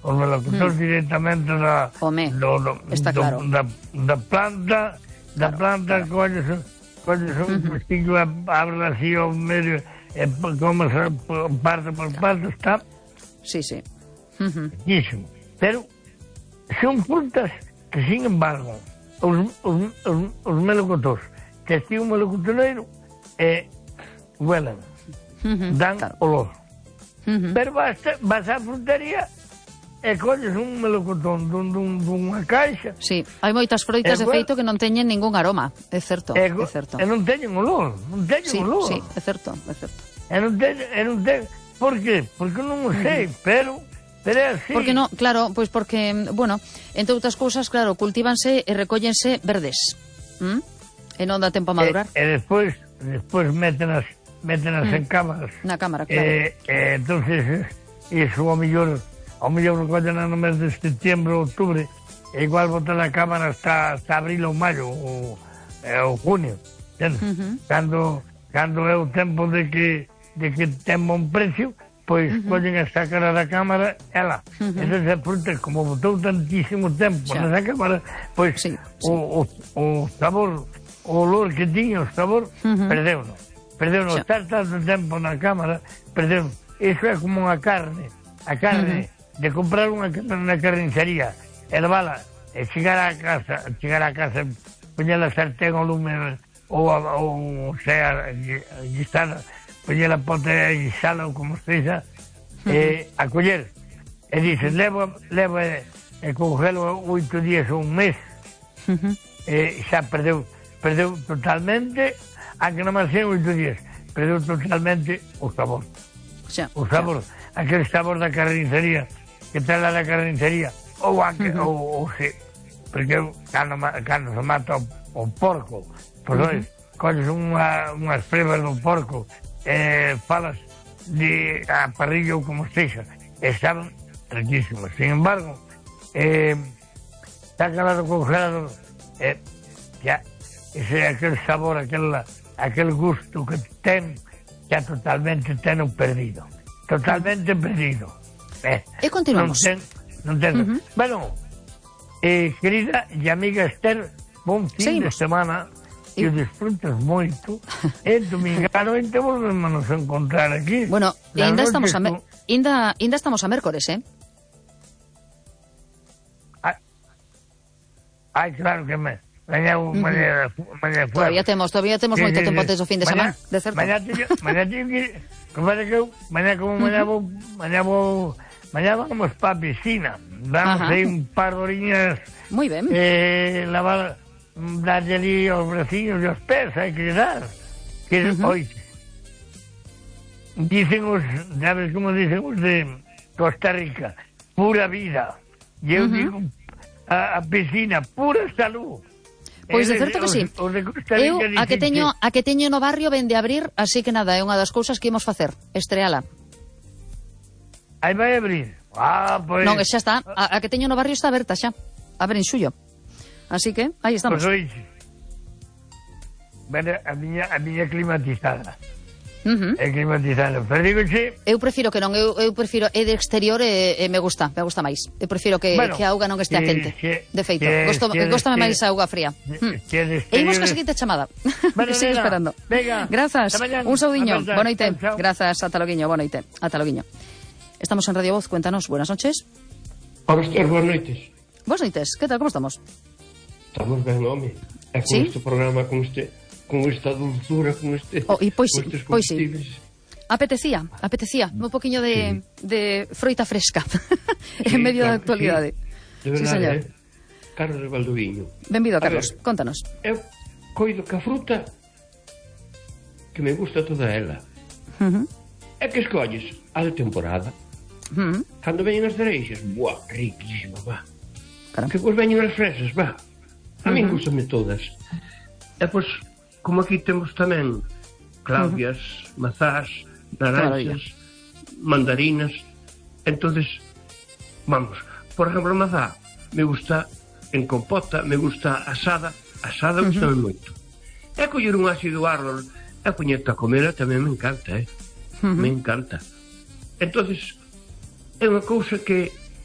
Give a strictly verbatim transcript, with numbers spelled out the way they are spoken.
os melocotóns mm. directamente da, do, do, está do, claro. da, da planta, da claro, planta, claro. colles, colles un uh-huh. pestillo, abre así ao medio, e comes parte por parte, está... Sí, sí. Uh-huh. Riquísimo. Pero son frutas que, sin embargo, os, os, os, os melocotóns, que estive un melocotoneiro, eh, huelen, uh-huh. dan claro. olor. Uh-huh. Pero vas, vas á frutería e colles un melocotón dun, dun, dunha caixa. Sí, hai moitas froitas de feito que non teñen ningún aroma, é certo, e, é certo. E non teñen olor, non teñen sí, olor. Sí, é certo, é certo. E non teñen, e non teñen, por qué? Porque non o sei, uh-huh. pero, pero é así. Porque non, claro, pois pues porque, bueno, entre outras cousas, claro, cultívanse e recóllense verdes, ¿Mm? e non dá tempo a madurar. E, e despois, despois métenas, métenas mm. en cámaras. Na cámara, claro. E, e entonces, iso ao mellor... ao mellor recollen no mes de setembro, outubro, e igual botar na cámara hasta, hasta abril ou maio, ou, ou junio, uh-huh. cando, cando é o tempo de que, de que ten bon precio, pois uh-huh. collen a sacar da cámara, ela. Uh-huh. Esas frutas, como botou tantísimo tempo na cámara, pois sí, sí. O, o, o sabor, o olor que tiña, o sabor, uh-huh. perdeu-no. Perdeu-no. Estar tanto tempo na cámara, perdeu-no. Iso é como unha carne. A carne... Uh-huh. de comprar unha na carnicería, hervala, e chegar a casa, chegar a casa, poñer a sartén ao lume, ou, ou sea, guisada, poñer a pote a guisada, ou como se diza, uh-huh. e a coller, e dices, levo, levo e, e congelo oito días ou un mes, uh-huh. e xa perdeu, perdeu totalmente, aunque non máis sean oito días, perdeu totalmente o sabor. Xa, o sabor, xa. Aquel sabor da carnicería, que tal a da carnicería, ou anque, uh-huh. ou, ou se, porque cando, cando se mata o, o porco, pois uh-huh. colles unha, unhas prebas do porco, e falas de a parrilla ou como sexa, e saben riquísimos. Sin embargo, eh, está calado congelado, eh, ya, ese, aquel sabor, aquel, aquel gusto que ten, xa totalmente ten o perdido. Totalmente perdido. Eh, e continuamos. Non ten, non ten. Uh-huh. Bueno, eh, querida e amiga Esther, bon fin Seguimos. de semana, e o disfrutes moito. E domingano ente volvemos nos encontrar aquí. Bueno, e ainda estamos a me... ainda, ainda estamos a mércores, eh? Ai, ai claro que me... Mañá, uh-huh. mañá, mañá todavía temos, todavía temos sí, moito sí, tempo antes do fin de semana, de certo. Mañá teño, mañá teño que... Como que eu, mañá como mañá vou, mañá vou... Mañá vamos para a piscina, vamos Ajá. aí un par de horiñas. Moi ben. Eh, lavar, darlle ali aos braciños e aos pés, hai que dar. Que, uh-huh. Oite, dicen os, sabes como dicen os de Costa Rica, pura vida. E eu uh-huh. digo, a, a piscina, pura salud. Pois de certo que sí. Os, os de Costa Rica eu a que teño a que teño no barrio vende abrir, así que nada, é unha das cousas que imos facer, estreala. Aí vai abrir. Ah, pois... Non, xa está. A, a que teño no barrio está aberta xa. Abre en xullo. Así que, aí estamos. Pois oixe. Bueno, a miña, a miña climatizada. Uh-huh. É climatizada. Pero digo, xe... Eu prefiro que non. Eu, eu prefiro... É de exterior e, e me gusta. Me gusta máis. Eu prefiro que, bueno, que a auga non estea quente. Que, de feito. Gosto, Góstame máis a auga fría. Que, que e imos ca seguinte chamada. Bueno, que sigo esperando. Venga. Grazas. Un saudiño. Boa noite. Grazas. Ata loguiño. Boa noite. Ata loguiño. Estamos en Radio Voz, cuéntanos, buenas noches. Hola, Esther, buenas noites. Buenas noites, ¿qué tal, cómo estamos? Estamos ben, home. E con ¿Sí? este programa, con este con esta dulzura, con este oh, e pois, pois sí. Apetecía, apetecía un poquinho de, sí. de froita fresca sí, en medio claro, da actualidade. Sí. De verdade, sí, señor. Eh? Carlos de Valdoviño. Benvido, Carlos, ver, contanos. Eu coido que a fruta que me gusta toda ela. Uh-huh. É que escolles a de temporada. Uh-huh. Cando veñen as cereixas, buah, riquísimo, va. Claro. Que pois veñen as fresas, va. A uh-huh. min gustame todas. E pois, como aquí temos tamén claudias, uh-huh. mazás, naranxas, mandarinas, entonces, vamos, por exemplo, a mazá me gusta en compota, me gusta asada, asada uh-huh. gustame moito. E coller un ácido árbol e poñerte a comela tamén me encanta, eh? Uh-huh. Me encanta. Entonces, é unha cousa que